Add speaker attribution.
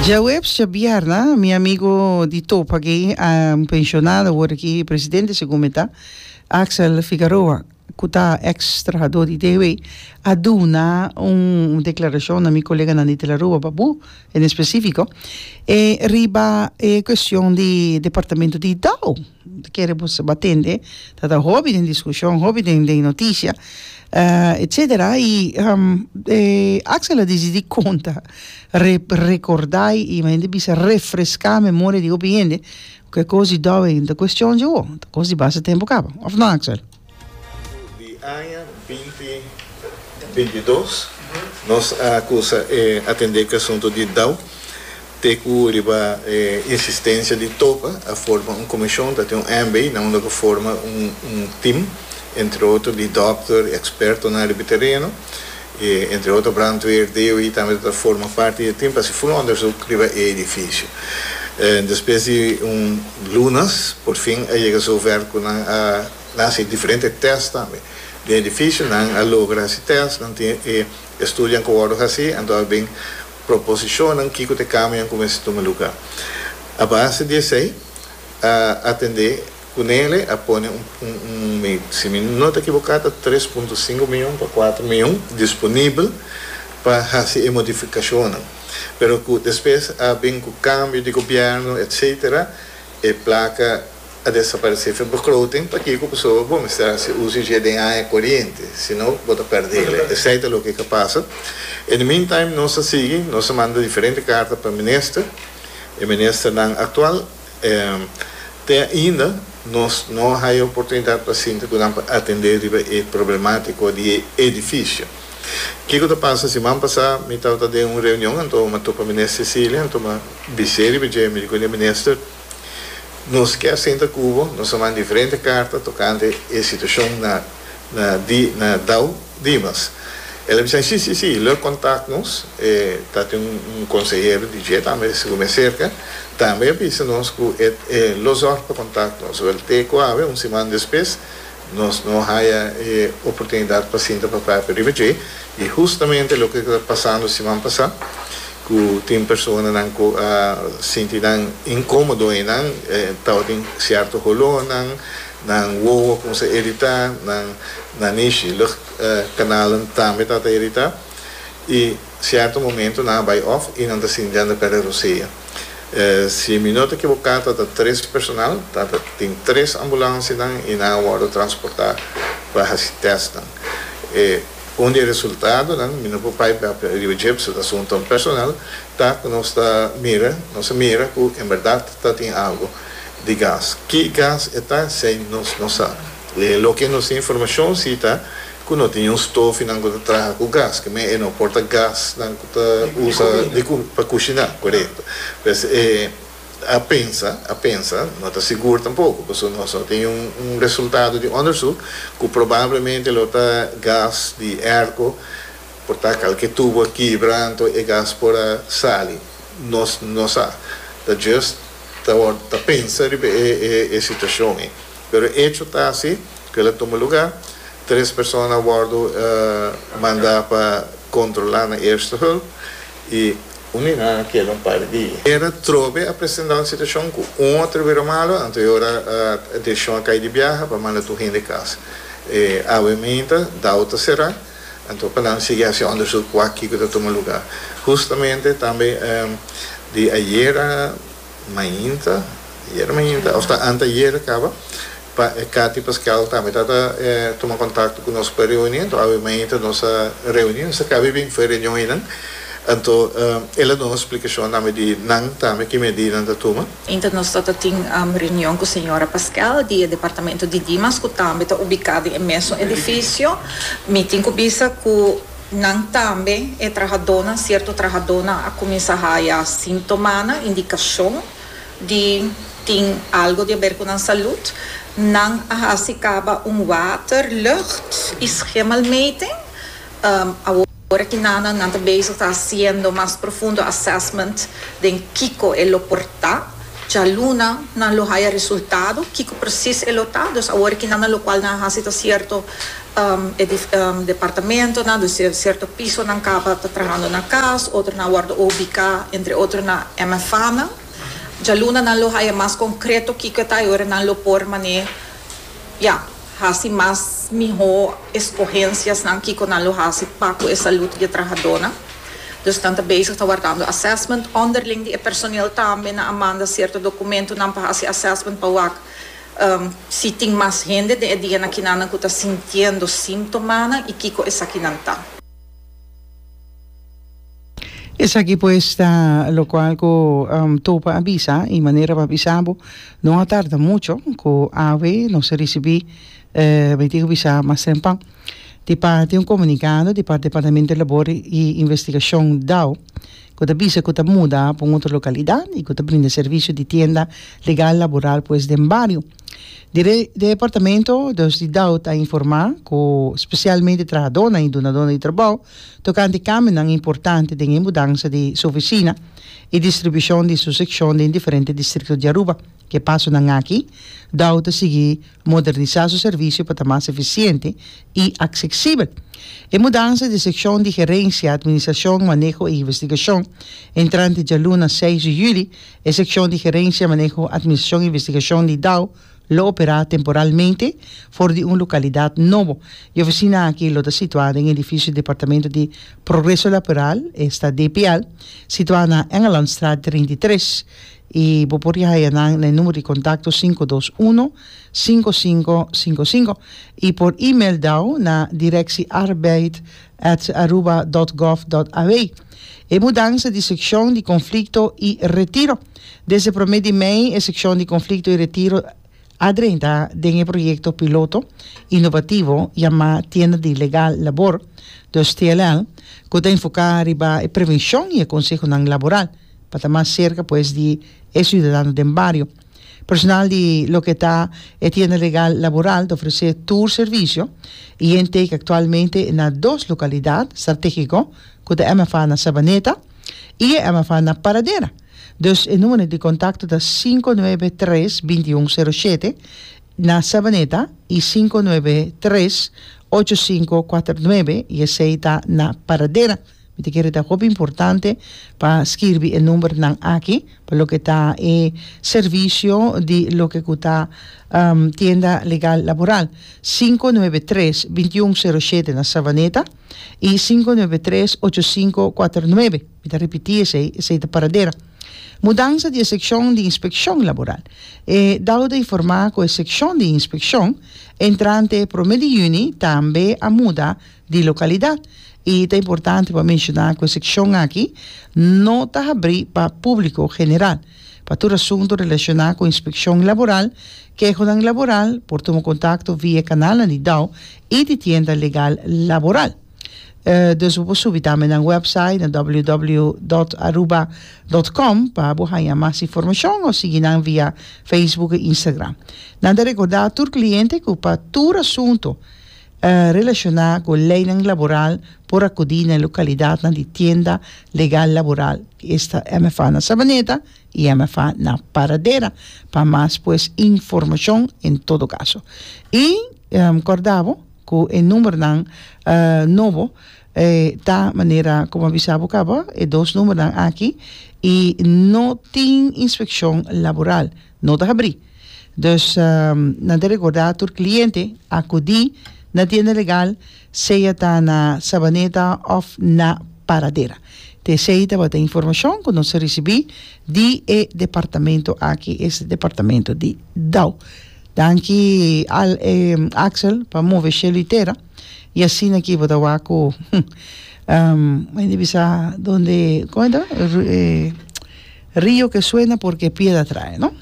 Speaker 1: Djaweps djabièrnè mi amigo di topa aki, un pensionado awor aki presidente segun mi ta, Axel Figaroa ku ta eks trahadó di DW a duna un deklarashon na mi koleganan di Telaruba Babu en espesífiko e riba e kuestion di departamento di dou. Ta kere bo sa tende ta ta hopi den diskushon, hopi den den notisia etcetera i Axel a disidí konta rekordá i hende bisa refreská memoria di hopi hende ku e kos di dòwe ta kuestion dje wou, ta kos di basta tempu kaba, òf no Axel?
Speaker 2: Di aña binti bintidos nos a kusa atendé ku e asuntu di dou. Te ku riba e insistensia di Topa a forma un komishon, ta tin un MB na unda ku forma un un tim, entre otro di dòkter i ekspertonan riba e tereno, i entre otro brandweer, DOI tambe ta forma parti di e tim pa hasi ful onderzoek riba e edifisio. Despues di un lunas por fin a yega zover ku nan a nan hasi diferente tèst tambe den e edifisio, nan a logra hasi tèst, nan tin e estudionan ku wòrdu hasi, anto a bin Proposishonnan kiko ta e kambionan ku mester tuma lugá. A base di esei a atendé ku Nele a pone un un si mi no ta ekiboká ta 3.5 mion pa 4 mion disponibel pa hasi e modifikashonnan. Pero ku despues a bin ku kambio di gobièrnu etsetera e plaka a desaparesé for begroting, pakiko? Pasobra bo mester hasi uso dje den aña koriente, si no bo ta pèrdele. Esei ta loke ka pasa. In the meantime nos a sigui, nos a manda diferente karta pa minister, e ministernan aktual, te ainda nos no a haya oportunidat pa sinta ku nan pa atendé riba e problemátiko di e edifisio. Kiko ta pasa? Siman pasá mi tabata den un reunion, anto mi a topa minister Cecilia, anto mi a bis'é riba dje, mi di ku e minister, Nos kier sinta ku bo, nos a manda diferente karta tokante e situashon na na di na Dau Dimas. El a bisa, Si, si, si, lo kontak nos. E ta tin un un konsehero di dje tambe segun mi a serka, tambe a bisa nos ku e e lo zòrg pa kontak nos. Wèl, te ku awe, un siman despues, Nos no haya e oportunidat pa sinta pa papia riba dje i hustamente loke ta pasando siman pasá ku tin personanan ku a sinti nan inkomodo einan, tabatin sierto holónan, nan wowo a kuminsá iritá, nan nanishi, luchtkanalen tambe tabata iritá i sierto momento nan a bai òf i nan ta sinti nan ta pèrdè rosea. Si mi no ta ekiboká ta ta tres personal, ta ta tin tres ambulansianan i nan a wòrdu transportá pa hasi tèstnan. E un di e resultadonan, mi no por pai papia riba dje pasobra ta asuntonan personal, ta ku nos ta mira, nos a mira ku en bèrdat ta tin algu di gas. Ki gas e ta, esei nos no sa. E loke nos tin informashon si ta ku no tin un stofinan ku ta traha ku gas, ke men e no por ta gasnan ku ta usa di pa kushiná, korekto. Pues e a pensa, a pensa, no ta sigur tampoko, pasobra nos no tin un un resultado di onderzoek ku probablemente lo ta gas di airco, por ta kalke tubo a kibra anto e gas por a sali. Nos no sa. Ta just ta ta pensa riba e e e situashon ei. Pero echo ta asi ku el a tuma lugá. Tres persona a wòrdu mandá pa kontrolá na Eerste Hulp i un di nan a keda un par di dia. Era trobe a presentá un situashon ku un otro bira malu, anto e ora direkshon a kai di biaha pa manda tur hende kas. E awe meinta dao ta será, anto pa nan sigui hasi òndersuk wak kiko ta tuma lugá. Hustamente tambe di ayera mainta, ayera mainta òf ta anteayera kaba, Pa e Cathy Pascal tambe ta ta tuma contacto cu nos pa reuni, anto awe mainta nos a reuni, nos a cabe bin for e reunion einan, anto el a duna un splicacion tambe di nan tambe ki medidanan ta tuma.
Speaker 3: Inta nos ta ta tin reunion cu señora Pascal di e departamento di Dimas cu tambe ta ubica den e mesun edificio. Mi tin cu bisa cu nan tambe e trahadonan, cierto trahadonan a cuminsa haya sintomanan, indicacion. Di tin algo di haber cu nan salud, nan a haci caba un water, lucht y schimmelmeting. Awor aki nan nan ta bezig ta haciendo mas profundo assessment den kico e lo por ta. Djaluna nan lo haya resultado kiko precies e lo ta. Dus awor aki nan locual nan a haci ta cierto departamentonan, dus cierto pisonan caba ta trahando na cas, otronan a wordo ubica entre otro na MFAnan. Djaluna nan lo haya mas concreto kiko e ta y ora nan lo por mane ya haci mas miho escogenciasnan kiko nan lo haci pa cu e salud di e trahadonan. Dus nan ta bezig ta wardando assessment onderling di e personeel tambe. Nan a manda cierto documentonan pa haci assessment pa wak si tin mas hende den e dianan kinanan cu ta sintiendo simptomanan y kico esakinan ta.
Speaker 1: Esaki pues ta locual cu Topa a bisa y manera pa bisa bo no a tarda mucho cu awe nos a ricibi mi tin cu bisa mas tempan di parti un comunicado di parti Departamento di Labor y Investigacion dao cu ta bisa cu ta muda pa un otro localidad y cu ta brinda servicio di tienda legal laboral pues den bario. Di departamento dus di dao ta informa cu specialmente trahadornan y dunadornan di trabao tokante kambionan importante den e mudansa di su ofisina i distribushon di su sekshon den diferente distrikto di Aruba. Ku e pasonan aki, dao ta sigui modernisá su servisio pa ta mas efisiente i aksesibel. E mudansa di sekshon di Gerensia, Administrashon, Maneho i Investigashon entrante djaluna seis di yüli, e sekshon di Gerensia, Maneho, Administrashon i Investigashon di dao lo operá temporalmente for di un lokalidat nobo. E ofisina aki lo ta situá den edifisio di Departamento di Progreso Laboral, esta DPL, situá na Engelandstraat 33, i bo por haya nan na e numero di kontakto 521 5555 i por email dao na directiearbeid at aruba dot gov dot aw. E mudansa di sekshon di konflikto i retiro. Desde promé di mei e sekshon di konflikto i retiro a drenta den e proyekto piloto inovativo yamá Tienda di Legal Labor, dus TLL, ku ta enfoká riba e prevenshon i e konsehonan laboral pa ta mas serka pues di e siudadano den bario. Personal di loke ta e tienda legal laboral ta ofresé tur servisio i intake aktualmente na dos lokalidat strategiko ku ta MFA na Sabaneta i e MFA na Paradera. Dus e numero di kontakto ta 593 2107 na Sabaneta i 593 8549 i esei ta na Paradera. Mi ta kere ta hopi importante pa skirbi e numbernan aki pa loke ta e servisio di loke ku ta tienda legal laboral. 593 2107 na Savaneta i 593 8549. Mi ta ripití esei, esei ta Paradera. Mudansa di e sekshon di inspekshon laboral. E dao ta informá ku e sekshon di inspekshon entrante promé di yüni tambe a muda di lokalidat i ta importante pa menshoná ku e sekshon aki no ta habrí pa públiko general. Pa tur asuntu relashoná ku inspekshon laboral, kehonan laboral, por tuma kontakto via e kanalnan di dao i di tienda legal laboral. Dus bo por subi tambe nan website na www dot aruba dot com pa bo haña mas informashon òf sigui nan via Facebook i Instagram. Nan ta rekordá tur kliente ku pa tur asuntu Relashoná ku leinan laboral por akudí na e lokalidatnan di tienda legal laboral, esta MFA na Sabaneta i MFA na Paradera, pa mas pues informashon en todo kaso. I kòrda bo ku e numbernan nobo ta manera ku mi a bisa bo kaba, e dos numbernan aki, i no tin inspekshon laboral, no ta habrí. Dus nan ta rekordá tur kliente akudí na tienda legal sea ta na Sabaneta òf na Paradera. Ta esei tabata e informashon ku nos a risibí di e departamento aki, es departamento di dao. Danki al Axel pa move shelu i tera i asina aki bo ta wak ku hende bisa donde, komo ta? Rio que suena porque piedra trae, no?